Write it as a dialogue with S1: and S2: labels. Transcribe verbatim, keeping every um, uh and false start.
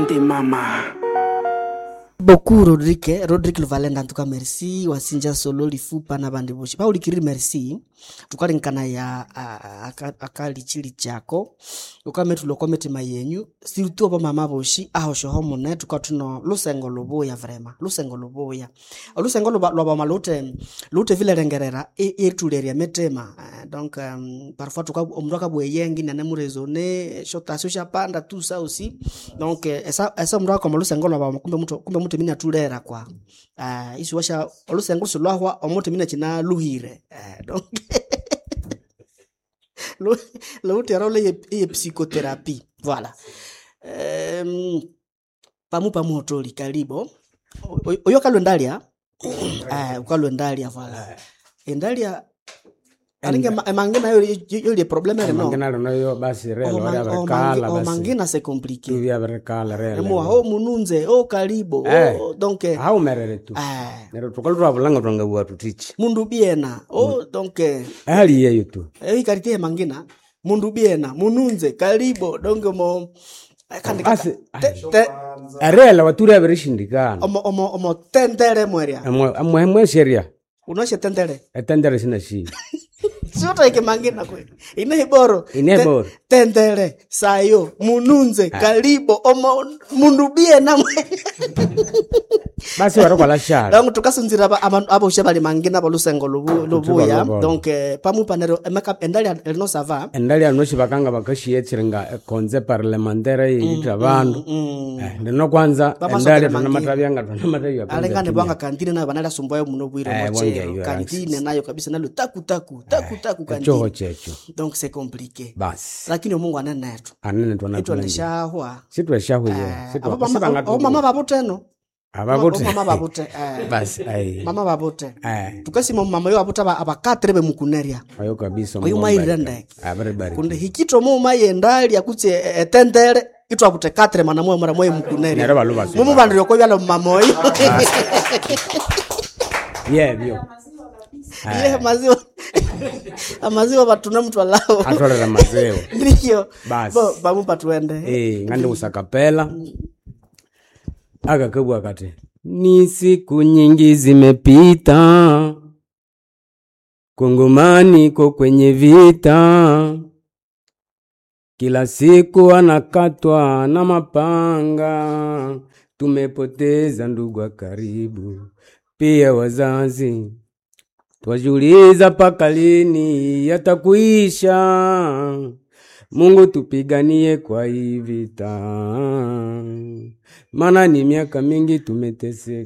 S1: Asante mama.
S2: Beaucoup Rodrigue, Rodrigue Luvalenda en tout cas merci wasinja solo lifupa n'abandi boshi paulikiri merci tukalinkana ya akalichili chako ukametulwa kwa mitima yenyu surtout aba mama boshi ahoshoho mune tukathuno lusengo lubuya vraiment lusengo lubuya olusengo lwa lwabama lute lute vilerengerera iritulerya mitima. Eh, donc um, parfois tuka omundu akabugha eyengi inanemuraisonner esyotasyo syapanda tout ça aussi. Donc eh, esa esa omundu akoma olusengo lwabama kumbe muthu kumbe muthimi inathulera kwa uh, isiwasha olusengo silwahwa omuthimi inakyinaluhire. Eh, donc lu- luwithe role eye eye psychothérapie voilà. Um, pamu pamuhotoli kalibo O- oyo kalwa endalya eh, ukalwa endalya voilà endalya alinga ema- emange nayo yoli problème rino
S3: mangina rino basi relo ryavirikala basi
S2: omangina c'est compliqué
S3: tuvyabirikala
S2: emuwa
S3: relo
S2: o mununze o kalibo
S3: Eh.
S2: o, donc eh,
S3: haumerere tu
S2: eh,
S3: neryo tukalwa twabulanga twangabugha tuthichi
S2: mundu biena o donc eh,
S3: ehali yeyo tu
S2: eikartie mangina mundu biena mununze kalibo donc mo eh, kandi
S3: Basi,
S2: te, te,
S3: erela waturi abirishindikana
S2: omo omo omo tendere mwerya
S3: amwe sheria
S2: unoshe tendere
S3: etendere sina shi
S2: siutaike mangina kwe inehiboro
S3: Inehiboro.
S2: Te- tendere sayo mununze kalibo omo mundu biena mwe
S3: basi warakwala shala
S2: donc tukasunzira aba- abantu aboshe bali mangina bolusengo lubu- lubuya
S3: lubolo.
S2: donc eh, pamupa neryo emeka endali erino sava
S3: endali anoshi bakanga bakashiyetsire konze parlementaire yiyitha bandu Eh, lino kwanza
S2: Bamasokera
S3: endali
S2: mangina.
S3: twanamathabyanga twanamathabya
S2: alengane bwanga kantine nayo banaliasumbuayo muno bwire
S3: Eh,
S2: mochero
S3: bwangeyo,
S2: kantine nayo kabisa nalo taku taku taku taku
S3: echoho
S2: kantine
S3: checho
S2: donc c'est compliqué
S3: basi
S2: lakini omungu anenethu
S3: anene twanatulangire
S2: itwandishahwa
S3: sitweshahwiye
S2: abomama babuteno
S3: ababute
S2: mama babute eh,
S3: basi ai
S2: mama babute
S3: eh
S2: tukasima mama yo abuta aba- abakatire bemukunerya
S3: ayo kabisa
S2: Oyu mwayirire ndeke.
S3: abaribariki
S2: kundi hikitwa muuma yendalya kutse etendere itwabute katire mana mwe mara mwe mukunerya
S3: Neryo balu basu-
S2: mumubandire okobyala mumama oyo
S3: yebyo
S2: ye maziwa amaziwa batuna muthu alawo
S3: atolera mazewo
S2: ndiyo
S3: Basi.
S2: bo bamupa tuende
S3: Eh, ngandi kusakapela akakabwa kati ni siku nyingi zimepita kongomani ko kwenye vita kila siku anakatwa na mapanga tumepoteza ndugu wa karibu pia wazazi twajiuliza paka lini yatakuisha. Mungu tupiganie kwa hii vita, maana ni miaka mingi tumeteseka.